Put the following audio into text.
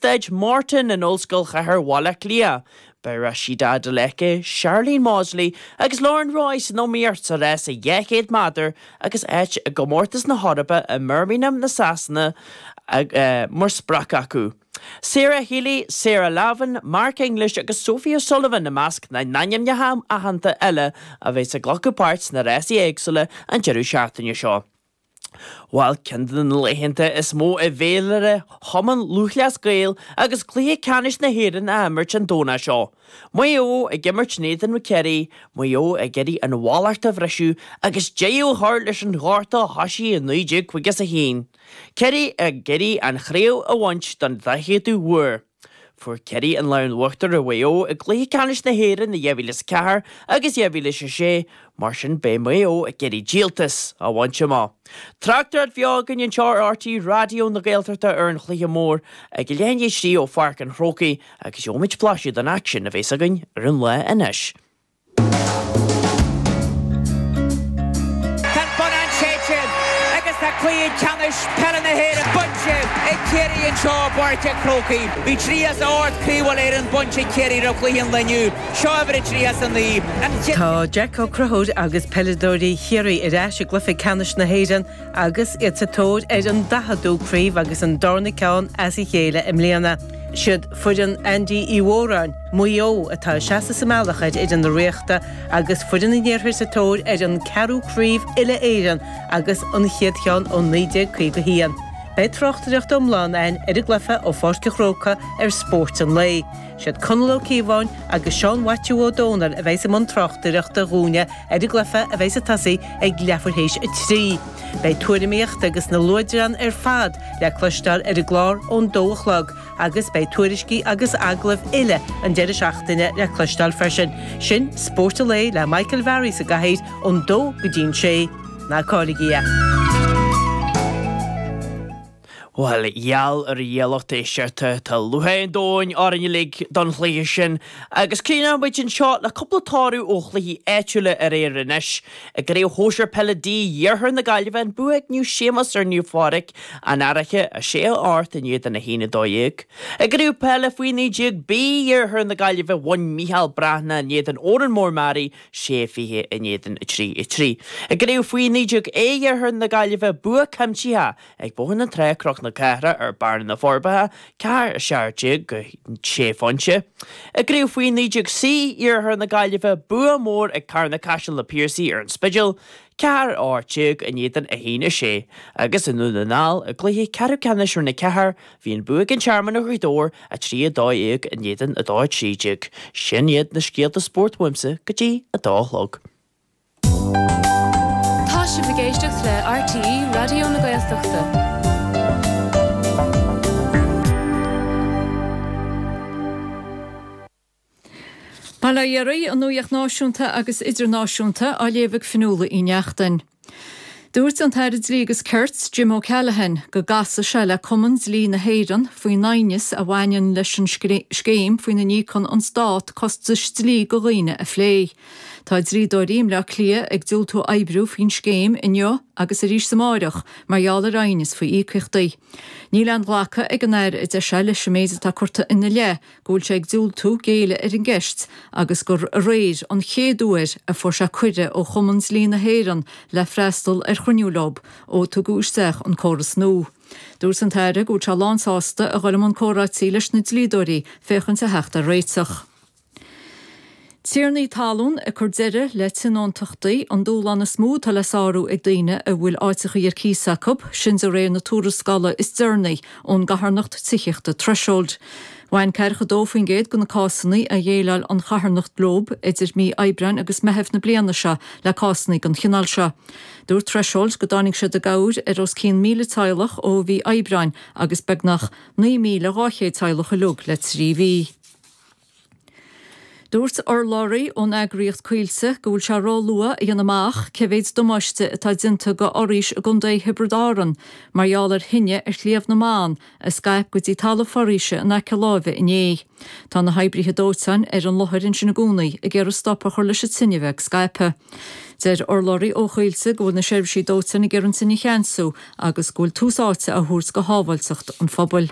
Staid Martin in Ollscoil Chathair Bhaile Átha Cliath. Beidh Rhasidat Adeleke, Sharlene Mawdsley agus Lauren Roy san iomaíocht sa rás 200 méadar agus áit i gComórtas na hEorpa i mBirmingham na Sasana mar sprioc acu. Sarah Healy, Sarah Lavin, Mark English agus Sophie O'Sullivan i measc na n-ainmneacha aitheanta eile a bheas ag glacadh páirt sna rásaí éagsúla an deireadh seachtaine seo. Bhuel, ceann de na laethanta is mó i bhféilire Chumann Lúthchleas Gael agus Cluiche Ceannais na hÉireann á imirt an Domhnach seo. Maigh Eo ag imirt in éadan Chiarraí, Maigh Eo ag iarraidh an mhallacht a bhriseadh agus deireadh a chur leis an ghorta a thoisigh i 1951. Ciarraí ag iarraidh an chraobh a bhaint don daicheadú huair. Fuair Ciarraí an lámh in uachtar ar Mhaigh Eo i gcluiche ceannais na hÉireann i 2004 agus 2006, mar sin beidh Maigh Eo ag iarraidh díoltas a bhaint amach. Tráchtaireacht bheo againn anseo ar RTÉ Raidió na Gaeltachta ar an chluiche mór ag leath i ndiaidh a trí ó Pháirc an Chrócaigh agus gheobhaimid blaiseadh den aicsean a bheas againn ar an lá anois. Tá an bonnán séidte agus tá cluiche ceannais peile na hÉireann bainte ag Ciarraí anseo i bPáirc an Chrócaigh. Bhí 38 craobh Uile-Éireann bainte ag Ciarraí roimh chluiche an lae inniu. Seo uimhir a 39. An chéad. Tá Jack Ó Conchúir agus peileadóirí Chiarraí ar ais i gcluiche ceannais na hÉireann agus iad sa tóir ar an daicheadú craobh agus an darna ceann as a chéile i mbliana. Siad foireann Andy Uí Mhóráin, Maigh Eo, atá ag seasamh sa mbealach ar fhoireann na Ríochta agus foireann an Iarthair sa tóir ar an ceathrú craobh uile-Éireann agus an chéad cheann ó 1951. Beidh tráchtaireacht iomlán againn ar an gcluiche ó Pháirc an Chrócaigh ar Spórt an Lae. Siad Conall Ó Cíobháin agus Seán Mhaitiú Ó Dónaill a bheidh i mbun tráchtaireachta dhúinne ar an gcluiche a bheidh ag tosaí ag leathuair théis 3. Beidh tuairimíocht agus na luaidreáin ar fad le cloisteáil ar an gclár ón dó a chlog agus beidh tuairiscí agus agallaimh uile an deireadh seachtaine le cloisteáil freisin. Sin Spórt an Lae le Michael Varey sa gcathaoir ón dó go dtí'n sé. Ná cailligí é! Bhuel, gheall ar a Dhia lucht éisteachta, tá lúcháir an domhain orainn uilig don chluiche sin agus críochnóidh muid anseo le cúpla toradh ó chluichí áitiúla aréir anois. I gCraobh Shóisir Peile D Iarthar na Gaillimhe, an bua ag Naomh Séamus ar Naomh Phádraig, An Fhairche, 6 8 in éadan 1 12. I gCraobh Peile Faoi 19 B Iarthar na Gaillimhe, bhain Micheál Breathnach in éadan Órán Mór Meáraí, 6 20 in éadan 3 3. I gCraobh Faoi 19 A Iarthar na Gaillimhe, bua cuimsitheach Ag Bóthar na Trá, Cnoc na Cathrach ar Bearna na Forbacha, 4 17 go 6 phointe. I gCraobh Faoi 19 C Iarthar na Gaillimhe, bua mór ag Carna Caiseal na Piarsaigh ar an Spidéal, 4 18 in éadan 1 6, agus i nDún na nGall, i gcluiche ceathrú ceannais Roinn 4, bhí an bua ag an Tearmann ar Ghaoth Dobhair, 3 12 in éadan 2 13. Sin iad na scéalta spóirt uaimse go dtí a dó a chlog. Tá sibh ag éisteacht le RTÉ Raidió na Gaeltachta. Bail ó Dhia oraibh, an nuacht náisiúnta agus idirnáisiúnta á léamh ag Fionnuala Uí Neachtain. Dúirt an tAire Dlí agus Cirt, Jim O'Callaghan, go gcasfaidh sé le Cumann Dlí na hÉireann faoin aighneas a bhaineann leis an scéim faoina n-íocann an Stát costais dlí go dhaoine a phlé. Tá dlíodóirí i mBleá Cliath ag diúltú oibriú faoin scéim inniu agus arís amáireach mar gheall ar aighneas faoi íocaíochtaí. Níl aon ghlacadh ag an Aire, a deir sé, leis an méid atá curtha ina leith go bhfuil sé ag diúltú géilleadh ar an gceist agus gur aréir an chéad uair a fuair sé cuireadh ó Chumann Dlí na hÉireann le freastal ar chruinniú leo ó tugadh isteach an córas nua. Dúirt an tAire go bhfuil sé lánsásta a dhul i mbun comhráití leis na dlíodóirí féachaint a theacht ar réiteach. Tiarnaí talún ag cur deireadh le tionóntachtaí, an dúshlán is mó atá le sárú ag daoine a bhfuil áiteachaí ar cíos acu, sin de réir na tuarascála is deireanaí ón gcarthanacht tithíochta Threshold. Bhain 42% de na cásanna a dhéileáil an charthanacht leo idir mí Aibreáin agus Meitheamh na bliana seo le cásanna den chineál seo. Dúirt Threshold go dtáinig siad i gcabhair ar os cionn 1,000 teaghlach ó mhí Aibreáin agus beagnach 9,200 teaghlach uilig le trí mhí. Dúirt urlabhraí ón eagraíocht Coillte go bhfuil sé ró-luath a dhéanamh amach cé mhéid damáiste atá déanta go fhoraois i gContae Thiobraid Árann mar gheall ar thine ar Shliabh na mBan a scaip go dtí talamh foraoise in aice láimhe inné. Tá na hoibrithe dóiteáin ar an láthair ansin i gcónaí ag iarraidh stop a chur leis an tine bheith ag scaipeadh. Deir urlabhraí ó Choillte go bhfuil na seirbhísí dóiteáin ag iarraidh an tine a cheansú agus go bhfuil tús áite á thabhairt go shábháilteacht an phobail.